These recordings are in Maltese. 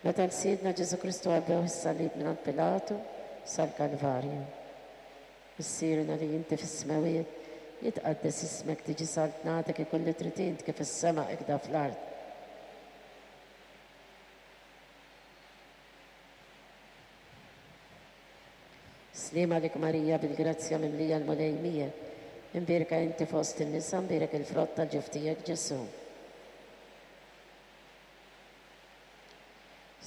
Meta 'l Sidna Ġesù Kristu għabbewh is-salib mingħand Pilatu sal-Kalvarju. Missierna li inti fis-smewwiet, jitqaddes ismek, tiġi saltnatek, ikun li trid int kif fis-sema ikda fl-art. Sliem għalik Marija bil-grazzja mimlija l-Mulej miegħek. Imbierka inti fost in-nisa, mbierek il-frott tal-ġuf tiegħek Ġesù.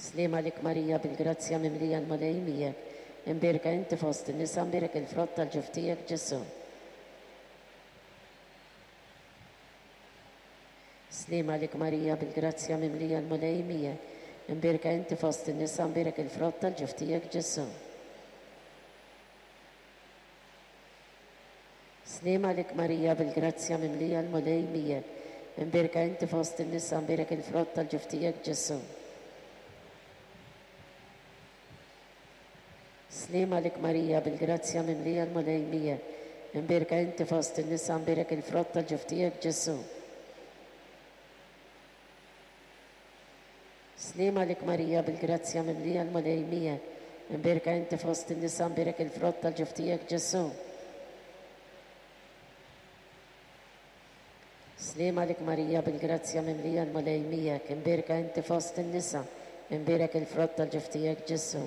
Sliem għalik Marija bil-grazzja mimlija l-Mulej miegħek. Imbierka inti fost in-nisa, mbierek il-frott tal-ġuf tiegħek Ġesù. Sliem għalik Marija bil-grazzja mimlija l-Mulej miegħek. Imbierka inti fost in-nisa, mbierek il-frott tal-ġuf tiegħek Ġesù. Sliem għalik Marija bil-grazzja mimlija l-Mulej miegħek. Imbierka inti fost in-nisa, mbierek il-frott tal-ġuf tiegħek Ġesù. Sliem għalik Marija bil-grazzja mimlija l-Mulej miegħek. Imbierka inti fost in-nisa, mbierek il-frott tal-ġuf tiegħek Ġesù. Sliem għalik Marija bil-grazzja mimlija l-Mulej miegħek. Imbierka inti fost in-nisa, mbierek il-frott tal-ġuf tiegħek Ġesù. Sliem għalik Marija bil-grazzja mimlija l-Mulej miegħek, imbierka inti fost in-nisa, imbierek il-frott tal-ġuf tiegħek Ġesù.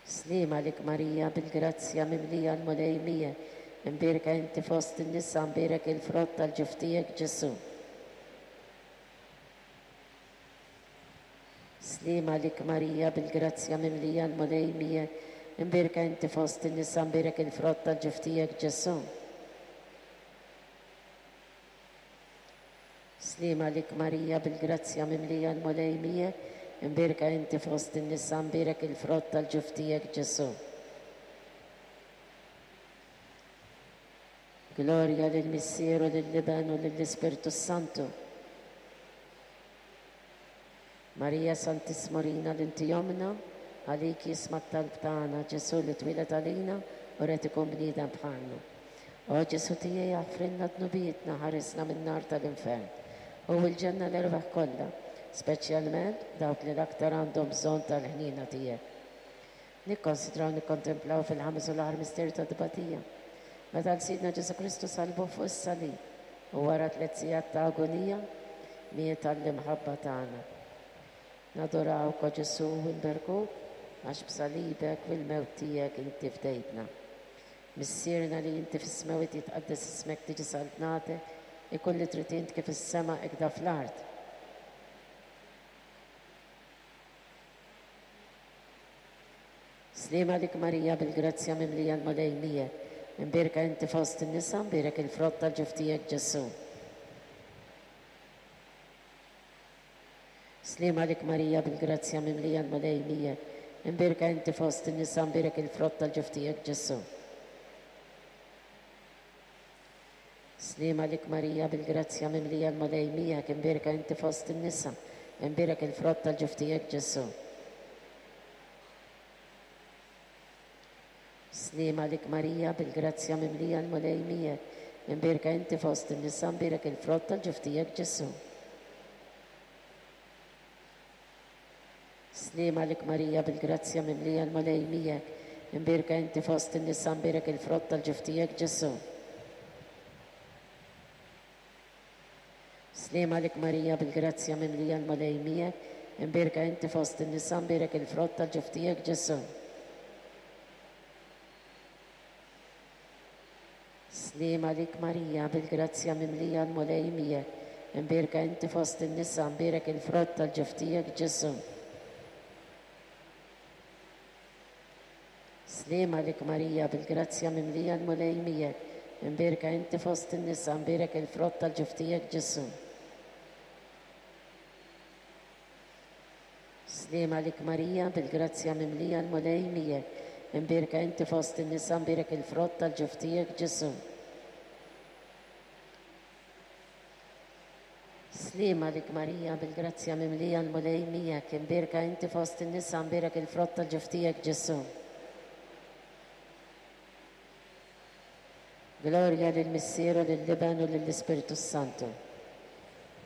Sliem għalik Marija bil-grazzja mimlija l-Mulej miegħek, imbierka inti fost in-nisa, mbierek il-frott tal-ġuf tiegħek Ġesù. Sliem għalik Marija bil-grazzja mimlija l-Mulej miegħek, imbierka inti fost in-nisa, mbierek il-frott tal-ġuf tiegħek Ġesù. Sliem għalik Marija bil-grazzja mimlija l-Mulej miegħek, imbierka inti fost in-nisa, mbierek il-frott tal-ġuf tiegħek Ġesù. Glorja lill-Missier u lill-Iben u lill-Ispirtu s-Santu. Marija Santissima urina li inti ommna, għalik jisma' t-talb tagħna, Ġesù li twieled għalina u red ikun bniedem bħalna. O Ġesù tiegħi aħfrilna dnubietna, ħarisna min-nar tal-infern u l-ġenna l-erwieħ kollha, speċjalment dawk li l-aktar għandhom bżonn tal-ħniena tiegħek. Nikkonsidraw nikkontemplaw fil-ħames u l-aħħar misteru tat-tbatija, meta 'l Sidna Ġesù Kristu sallbuh fuq is-salib u wara tlett sigħat ta' agunija, miet għall-imħabba tagħna. Nadurawk, o Ġesù, u nberkuk, għax b'salibek u l-mewt tiegħek inti fdejtna. Missierna li inti fis-smewwiet jitqaddes ismek tiġi saltnatek, ikun li trid int kif fis-sema hekk fl-art. Sliem għalik Marija bil-grazzja mimlija l-Mulej miegħek, imbierka inti fost in-nisa, mbierek il-frott tal-ġuf tiegħek Ġesù. Sliem għalik Marija bil-grazzja mimlija l-Mulej miegħek, imbierka inti fost in-nisa, mbierek il-frott tal-ġuf tiegħek Ġesù. Sliem għalik Marija bil-grazzja mimlija l-Mulej miegħek, imbierka inti fost in-nisa, imbierek il-frott tal-ġuf tiegħek Ġesù. Sliem għalik Marija bil-grazzja mimlija l-Mulej miegħek, imbierka inti fost in-nisa, imbierek il-frott tal-ġuf tiegħek Ġesù. Sliem għalik Marija bil-grazzja mimlija l-Mulej miegħek, imbierka inti fost in-nisa, mbierek il-frott tal-ġuf tiegħek Ġesù. Sliem għalik Marija bil-grazzja mimlija l-Mulej miegħek, imbierka inti fost in-nisa, mbierek il-frott tal-ġuf tiegħek Ġesù. Sliem għalik Marija, bil-grazzja mimlija l-Mulej miegħek, imbierka inti fost in-nisa, mbierek il-frott tal-ġuf tiegħek Ġesù. Sliem għalik Marija, bil-grazzja mimlija l-Mulej miegħek, imbierka inti fost in-nisa, mbierek il-frott tal-ġuf tiegħek Ġesù. Sliem għalik Marija, bil-grazzja mimlija l-Mulej miegħek, imbierka inti fost in-nisa, mbierek il-frott tal-ġuf tiegħek Ġesù. Sliem għalik Marija, bil-grazzja mimlija l-Mulej miegħek, imbierka inti fost in-nisa, mbierek il-frott tal-ġuf tiegħek Ġesù. Glorja lill-Missier u lill-Iben u lill-Ispirtu s-Santu.